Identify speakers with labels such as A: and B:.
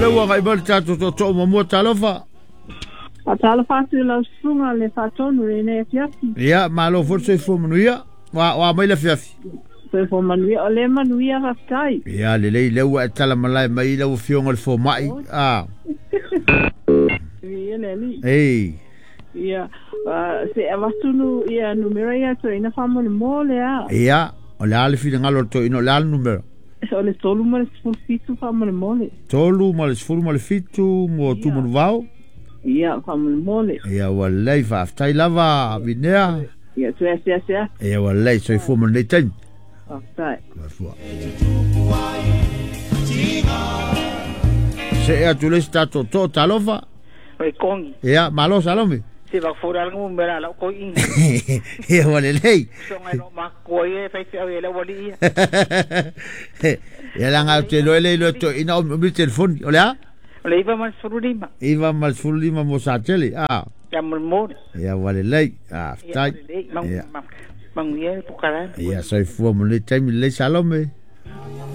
A: Lea ua agai mai le tatou tootoo muamua, talofa.
B: Faatalofa atu i lau susuga le faatonu i lenei afiafi.
A: Ia, malo foi le soifua manuia. Ua a mai le afiafi?
B: Soifua manuia, o lea e manuia, faafetai.
A: Ia, lelei, lea ua e tala malae mai i lau Afioga i le Fomai. A.
B: Viia le Alii.
A: Ei.
B: Ia, se avatu nu, ia numera ia toeaina faamolemole a.
A: Ia, o le a le finagalo o le toeaina, o le a le numera?
B: O le 37 faamolemole.
A: 37 mo Tumanuvao.
B: Ia, faamolemole.
A: Ia, ua lelei, faafetai lava, Vinea.
B: Ia, toe asiasi atu.
A: Ia, ua lelei, soifua ma lenei taimi.
B: Faafetai.
A: Soifua. See atu le isi tatou too, talofa.
C: Oi kongi.
A: Ia, malo Salome.
C: Se va fora algo mera la ko inga.
A: Ia ua lelei.
C: Songa no ma ko ia fai fe au le wali ia.
A: Ia la ngau te loe le loe to ina o mi telefoni. O le a?
C: O le iva ma le 15.
A: Iva ma le 15 mo Satele. Ah.
C: Ia mo mo.
A: Ia ua lelei. Ah,
C: faafetai. Ia. Manuia le pokalame.
A: Ia soifua mo lenei taimi lelei Salome.